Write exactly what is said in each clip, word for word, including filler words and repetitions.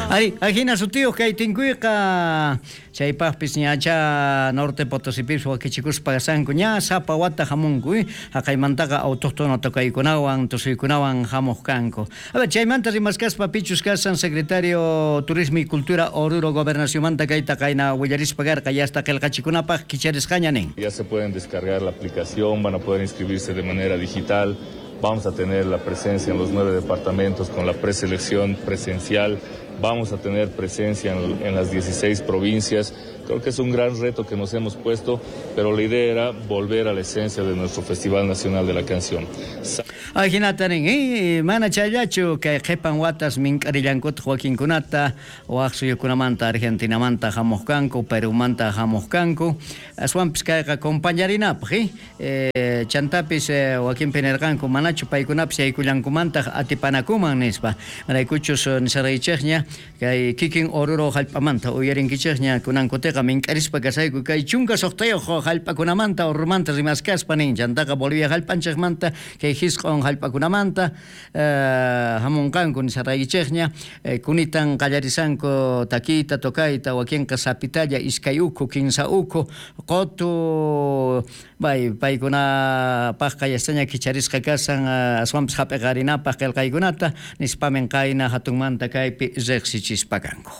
Ari, ajina sutiyuq kay tinkuyqa chaypaqpis ñacha Norte Potosipis wakichikuspa kasanku ña sapa wata hamunku eh? Haqaymantaqa autóctono tocaykunawan tusuykunawan hamuq kanku. A ver, chaymanta rimaskaspa pichus kasan secretario Turismo y Cultura Oruro Gobernacionmanta kayta qayna willarispa karqa ya hasta qillqachikunapaq kicharisqaña nin. Ya se pueden descargar la aplicación, van a poder inscribirse de manera digital. Vamos a tener la presencia en los nueve departamentos con la preselección presencial. Vamos a tener presencia en, en las dieciséis provincias. Creo que es un gran reto que nos hemos puesto, pero la idea era volver a la esencia de nuestro Festival Nacional de la Canción. Ajinata nin, eh, mana chayllachu kay qhipan watas mink'arillankutaq wakinkunata, waq suyukunamanta, Argentinamanta hamuq kanku, Perumanta hamuq kanku, aswanpis kayqa compañarinapaq, eh, eh, chantapis eh, wakinpi nirqanku manachu paykunapis yaykullankumantaq atipanakuman nispa. Maraykuchus nisaraychikña kay kikin Oruro hallp'amanta uyarinkichikña kunankutiqa mink'arispa kasayku kay chunka suqtayuq hallp'akunamanta Oruromanta rimaskaspa nin, chantaqa Bolivia hallp'anchikmanta kay hisq'un hallp'akunamanta eh, hamunqanku nisaraykichikña eh, kunitan qallarisanku takiyta tocayta wakinqa sapitalla iskay ukhu kinsa ukhu qutu bay paykunapaqqa yastaña kicharisqa kasan aswanpis hap'iqarinapaq qillqaykunata nispamin qayna hatunmanta kaypi riqsichispa kanku.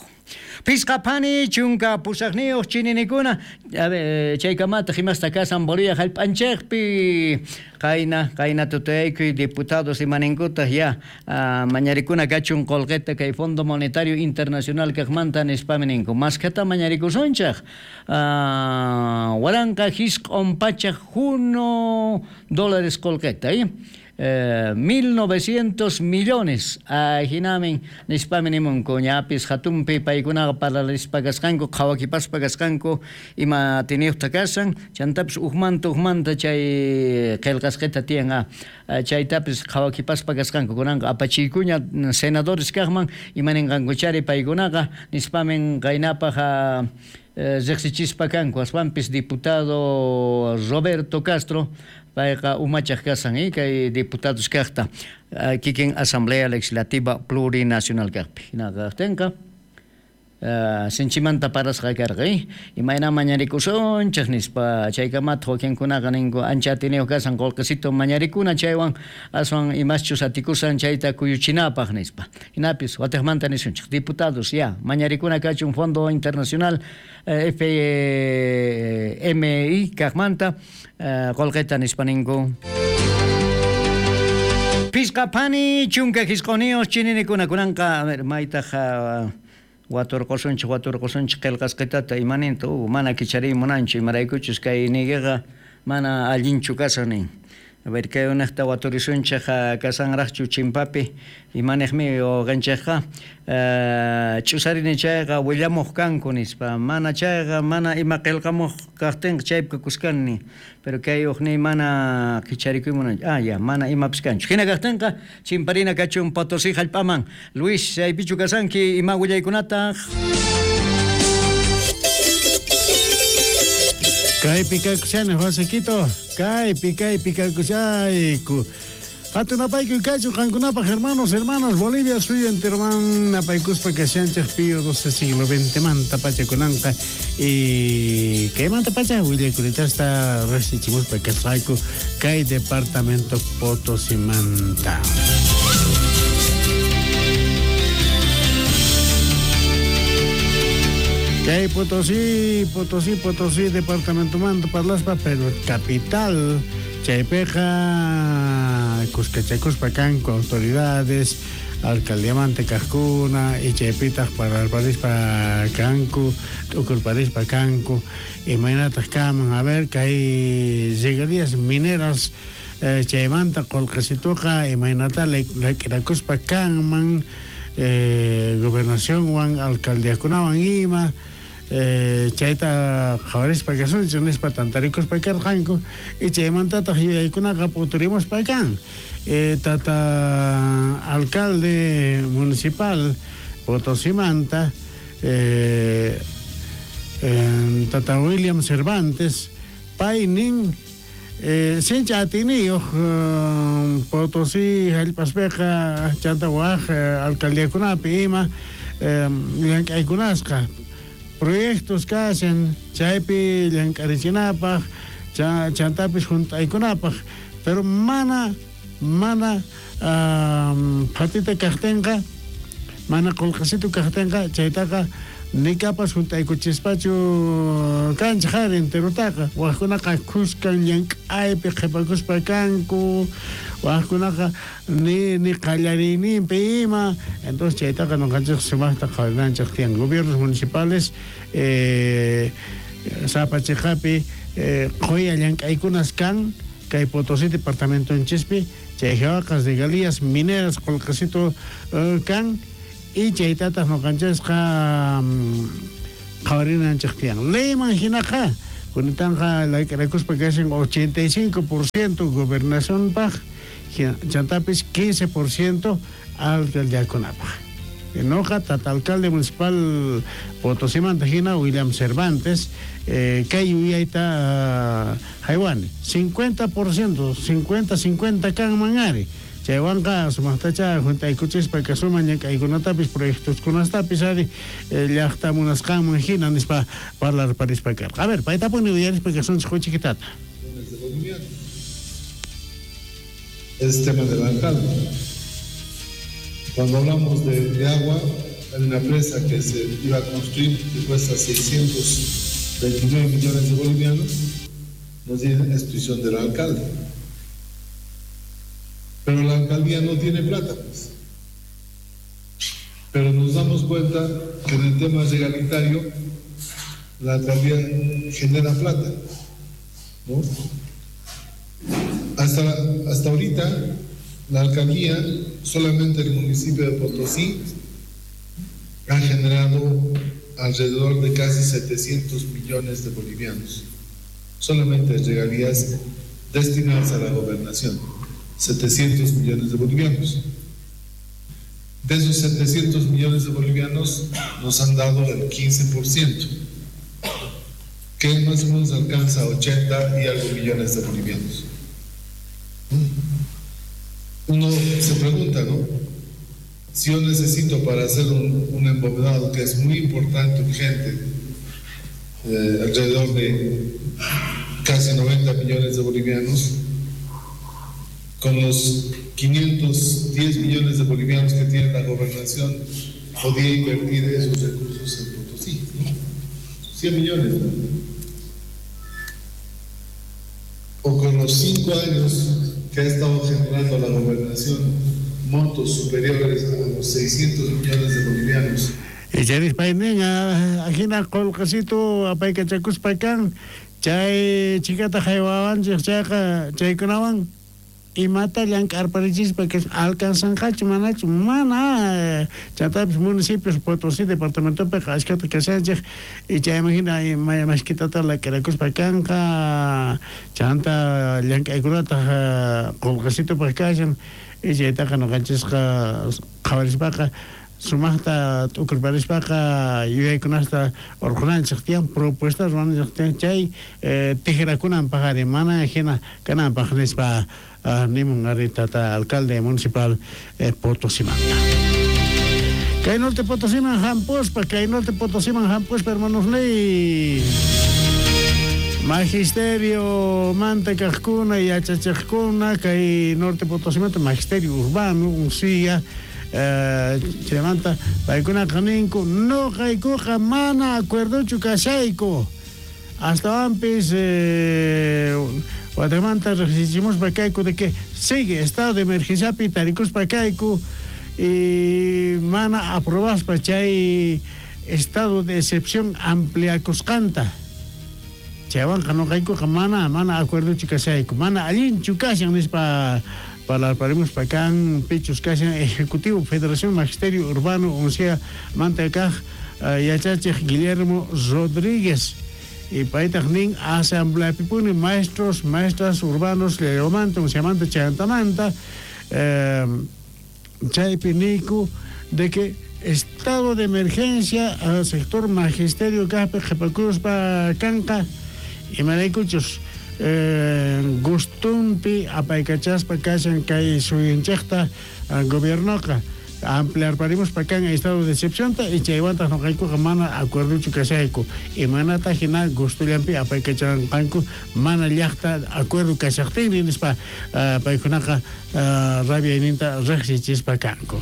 Pisqa phani chunka pusaqniyuq chininikuna a ver chaykamataq imasta kasan Bolivia hallp'anchikpi qayna qayna tutayaykuy diputados imaninkutaq ya uh, mañarikuna kachun qullqita kay Fondo Monetario Internacional kaqmanta nispami ninku maskhata mañarikusunchaq uh, waranqa hisq'un pachak huno dólares qullqita eh? Eh, mil novecientos millones ajinamin nispami nimunku ñapis hatunpi paykunaqa parlarispa kasqanku qhawakipaspa kasqanku ima tiniyuqta kasan chantapis ujmanta ujmanta chay qillqasqita tiyan a chaytapis qhawakipaspa kasqanku kunanqa apachiykuña senadores kaqman ima ninqankuchari paykunaqa nispamin qaynapaq riqsichispa kanku aswanpis diputado Roberto Castro payqa umachaq kasan eh, kay diputados kaqta kikin Asamblea Legislativa Plurinacional kaqpi hinaqa kaqtinqa uh, sinchimanta parasqa karqa eh? Imayna mañarikusunchik nispa chaykamataq wakinkunaqa ninku ancha atiniyuq kasan qullqisito mañarikuna chaywan aswan imaschus atikusan chayta kuyuchinapaq nispa hinapis watiqmanta nisunchik diputados ya mañarikuna kachun Fondo Internacional eh, F M I kaqmanta qullqita nispa ninku. Pisqa phani chunka hisq'uniyuq chininikuna kunanqa a ver maytaq uh, waturqusunchik waturqusunchik qillqasqitata imaninta uh, mana kichariy munanchu imaraykuchus kay niykiqa mana allinchu kasan nin. A ver kay unaqta waturisunchik kasanraqchu chimpapi imaniqmi uqanchikqa uh, ch'usarini chayqa willamuq kanku nispa mana chayqa mana ima qillqamuq kaqtinqa chaypi kuskani pero kay uqniy mana kicharikuy munanchu ah ya mana imapis kanchu hina kaqtinqa chimparina kachun Potosí hallp'aman. Luis chaypichu kasanki ima willaykunataq? Kaypi kaykushani Josequito, kaypi kaypi kaykushayku. Hatunapaykuy kachu qankunapaq hermanos, hermanas, Bolivia suyu enteroman napaykuspa kashanchik Pío doce siglo veinte manta pachakunanqa y kaymanta pacha willaykunitasta riqsichimuspa kasqayku kay departamento Potosimanta. Kay Potosí, Potosí, Potosí, departamento manta parlaspa, pero capital chaypiqa cuscachakuspa kanku autoridades, alcaldía manta kaqkuna y chaypitaq parlarparispa kanku, t'ukurparispa kanku, imaynataq kaman, a ver, kay regalías mineras eh, chaymanta qullqisituqa imaynata lak'irakuspa kanman eh, gobernacionwan, alcaldíakunawan ima eh, chayta qhawarispa kasunchik nispa tantarikuspa karqanku y chaymantataq yuyaykunaqa p'uturimuspa kan eh, tata alcalde municipal Potosimanta eh, eh, tata William Cervantes pay nin eh, sincha atiniyuq eh, Potosí hallp'aspiqa chanta waq eh, alcaldiakunapi ima llank'aykunasqa proyectos kashan chaypi llank'arichinapaj chantapis junt'aykunapaj pero mana mana phatita kajtinqa mana qullqisitu kajtinqa chaytaqa nikapas junt'aykuchispachu kanchej ari enterotaqa wajkunaqa khuskan llank'aypi qhipakuspa kanku wajkunaqa ni ni qallariyninpi ima entonces chaytaqa noqanchej sumaqta qhawarinanchej tiyan gobiernos municipales eh, sapa chiqapi eh, qhuya llank'aykunas kan kay Potosí departamentonchispi chay jawaqas regalías mineras qullqisitu uh, kan y chaytataq noqanchesqa qhawarinanchej tiyan leyman hinaqa kunitanqa layk'arakuspa kashan ochenta y cinco por ciento gobernacionpaj chantapis quince por ciento alcaldiakunapaj noqa tata alcalde municipal Potosimanta hina William Cervantes eh, kay yuyayta uh, haywani cincuenta por ciento cincuenta cincuenta kanman ari chaywanqa sumaqtacha juntaykuchispa kasuman llank'aykunatapis proyectoskunastapis ari llaqta munasqanman hina nispa parlarparispa karqa. A ver, paytapuni uyarispa kasunchik huchikitata. Es tema del alcalde. Cuando hablamos de, de agua, hay una presa que se iba a construir que cuesta seiscientos veintinueve millones de bolivianos, nos dicen es decisión del alcalde. Pero la alcaldía no tiene plata, pues. Pero nos damos cuenta que en el tema regalitario la alcaldía genera plata, ¿no? Hasta, hasta ahorita la alcaldía, solamente el municipio de Potosí, ha generado alrededor de casi setecientos millones de bolivianos, solamente regalías destinadas a la gobernación. setecientos millones de bolivianos. De esos setecientos millones de bolivianos nos han dado el quince por ciento, que más o menos alcanza ochenta y algo millones de bolivianos. Uno se pregunta, ¿no? Si yo necesito para hacer un, un embovedado que es muy importante, urgente, eh, alrededor de casi noventa millones de bolivianos, con los quinientos diez millones de bolivianos que tiene la gobernación, podía invertir esos recursos en Potosí, ¿no? cien millones, ¿no? O con los cinco años que ha estado generando la gobernación, montos superiores a los seiscientos millones de bolivianos. Icharispainin, ajina qullqisitu apaykachakuspa kan, chay chikata haywawanchik chayqa chaykunawan imata llank'arparichispa que alcanzanqachu manachu mana chantapis municipios Potosí departamentopiqa ashkata kashanchik y chayman hina mashkitata lak'irakuspa kanqa chanta llank'aykunataq qullqisitupaq kashan y chaytaqa noqanchisqa qhawarispaqa sumaqta t'ukurparispaqa yuyaykunasta urqunanchik tiyan propuestas ruwananchik tiyan chay tijrakunanpaq ari mana hina kananpaq nispa nimun ari tata alcalde municipal eh, Potosimanta. Kay norte Potosiman hampuspa, kay norte Potosiman hampuspa hermanos ley. Magisterio manta kajkuna yachachejkuna kay norte Potosimanta magisterio urbano unsilla eh, chaymanta paykunaqa ninku noqaykuqa mana acuerdochu kashayku astawanpis eh, Guatemala riqsichimuspa kayku de que sigue estado de emergenciapi tarikuspa kayku y mana aprobaspa chay estado de excepción ampliakusqanta chaywanqa noqaykuqa mana mana acuerdochu kashayku mana allinchu kashan nispa parlarparimuspa kan pichus kashan Ejecutivo Federación Magisterio Urbano uncia manta kaq yachachej Guillermo Rodríguez y paytaq nin asamblea pipuni maestros, maestras urbanos Leomanta, unciamanta, chayantamanta eh, chaypi niku de que estado de emergencia al sector magisterio kaqpi qhipakuspa kanqa imaraykuchus eh, gustunpi apaykachaspa kashan kay suyunchikta gobiernoqa Ampliarparimuspa kan estado de excepción y chaywantaq noqaykuqa mana acuerdochu kashayku imanata hina gustullanpi apaykachanqanku mana llaqta acuerdo kashaqtinri nispa uh, paykunaqa uh, rabiayninta riqsichispa kanku.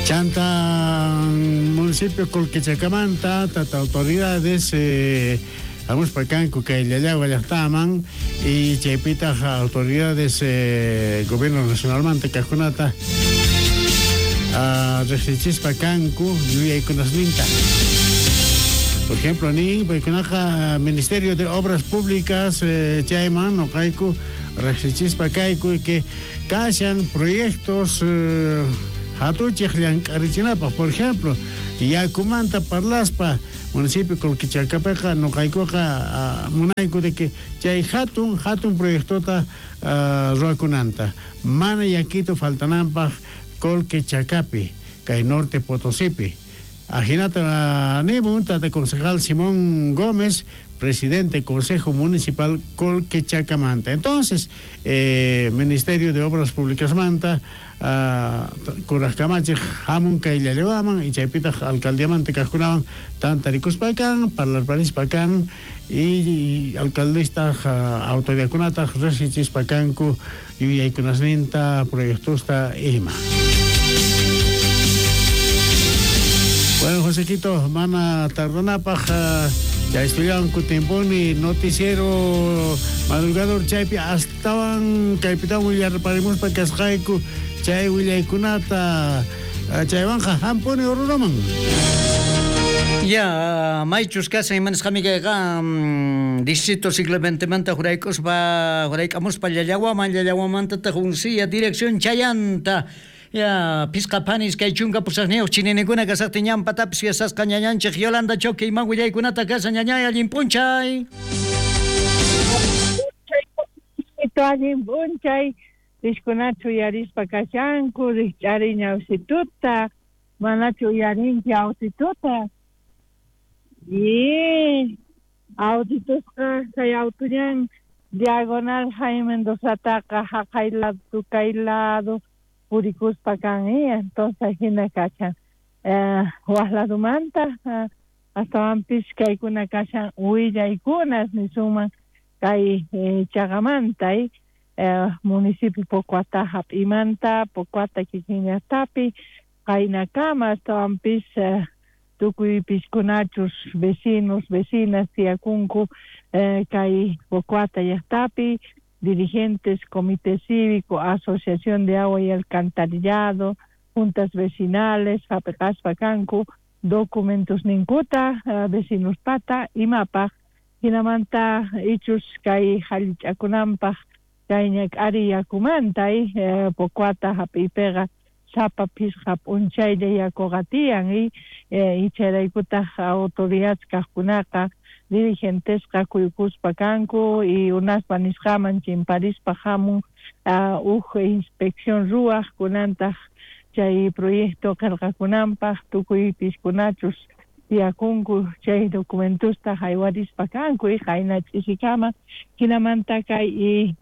Chanta municipio Colquechacamanta tata autoridades eh, hamuspa kanku kay Llallagua llaqtaman y chaypitaq autoridades eh, gobierno nacionalmanta kaqkunata uh, riqsichispa kanku yuyaykunasninta. Por ejemplo, ni paykunaqa Ministerio de Obras Públicas eh, chayman noqayku riqsichispa kayku que kashan proyectos eh, hatuchiq llank'arichinapaq. Por ejemplo, yakumanta parlaspa municipio Colquechacapeqa noqaykuqa uh, munayku de que chay hatun hatun proyectota uh, ruwakunanta mana yakito faltananpaq Colquechacapi kay Norte Potosipi. Ajinata nimun tata concejal Simón Gómez, presidente Consejo Municipal Colquechacamanta. Entonces, eh, Ministerio de Obras Públicas manta, uh, kurajkamachej hamun kay Llallagüaman y chaypitaq alcaldiamanta kaqkunawan tantarikuspakan, parlarparispakan y, y alcaldistaq uh, autoridadkunataq riqsichispakanku yuyaykunasninta proyectosta ima. Bueno, Josequito, mana tardanapaq uh, ya estudianku tiemponi noticiero madrugador chaypi astawan kaypitawan willarparimuspa kasqayku chay willaykunata chaywanqa hampuni Oruroman. Ya, maychus kashan imanasqami kayqa distrito siglo veintemanta juraykuspa jurayk'amuspa Llallaguaman Llallaguamantataq unsiya dirección chayanta. Ya, pisqa panis kay chunka pusaqniyuq chininakuna kasaqtin ñanpatapis yasasqa ñañanchik Yolanda Choque iman willaykunata kashan ñañay allin p'unchay. Allin p'unchay rishkunachu uyarispa kashanku rikch'ari ñawsituta manachu uyarinki awsituta y awsitusqa kay awtuñan diagonal Jaime Mendozataqa haqay lado tukay lado purikuspa kan eh, entonces hina kashan eh, waq ladumanta eh, astawanpis kaykuna kashan willaykunas nisuman kay eh, chaqamanta eh, eh, municipio Pocoata hap'imanta Pocoata kikinllaqtapi qaynakama astawanpis eh, tukuy piskunachus vecinos vecinas tiyakunku eh, kay Pocoata llaqtapi dirigentes, comité cívico, asociación de agua y alcantarillado, juntas vecinales, hap'eqaspa kanku, documentos ninkuta, uh, vecinos pata, imapaq, hinamanta ichus kay hallich'akunanpaq kay ñak'ari yakumanta eh, Pocoata hap'iypiqa sapa phisqa p'unchaylla yakuqa tiyan y eh, icharaykutaq autoridades kaqkunaqa dirigentesqa kuykuspa kanku y unaspa nisqaman chimparispa hamun uh, uj inspección ruwaq kunantaq chay proyecto qillqakunanpaq tukuy piskunachus tiyakunku chay documentosta haywarispa kanku y qayna ch'isikama hinamanta kay y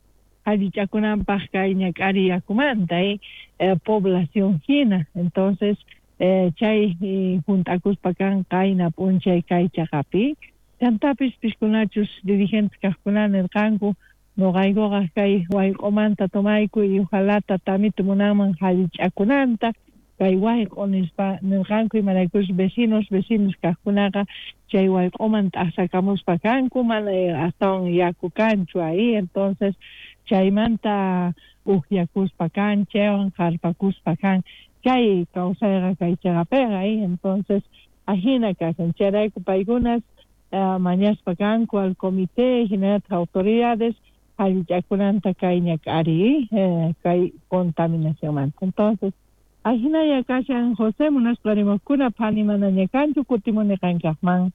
allichakunanpaq kay ñak'ari yakumanta eh, eh, población hina. Entonces eh, chay eh, juntakuspa kan qayna p'unchay kay chaqapi chantapis piskunachus dirigentes kaqkuna nirqanku noqaykuqa kay wayq'umanta tomayku y ojalá tatamitu munanman hallich'akunanta kay wayq'u nispa nirqanku imaraykus vecinos vecinos kaqkunaqa chay wayq'uman t'aqsakamuspa kanku mana astawan yaku kanchu ahí. Entonces chaymanta uqyakuspa kan chaywan qarpakuspa kan chay kawsayqa kay chaqapiqa ahí. Entonces ajina kashan chayrayku paykunas Uh, mañaspa kanku al comité hinallataq autoridades allichakunanta kay ñak'ari eh, kay contaminacionmanta. Entonces ajinaya kashan José munaspa rimaqkuna phani manaña kanchu kutimuni qankaqman.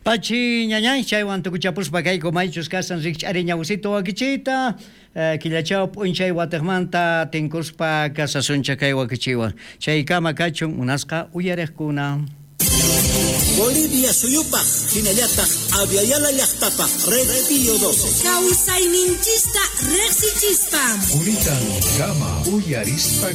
Pachi ñañay chaywan tukuchapuspa kayku maychus kashan rikch'ari ñawsito wakichiyta eh, killachaw p'unchay watiqmanta tinkuspa kasasuncha kay wakichiwan chaykama kachun munasqa uyariqkuna. Bolivia suyupaj hinallataq Abya Yala llaqtapaj Red Pío doce. Kawsayninchista riqsichispa. Kunitan kama uyarispa.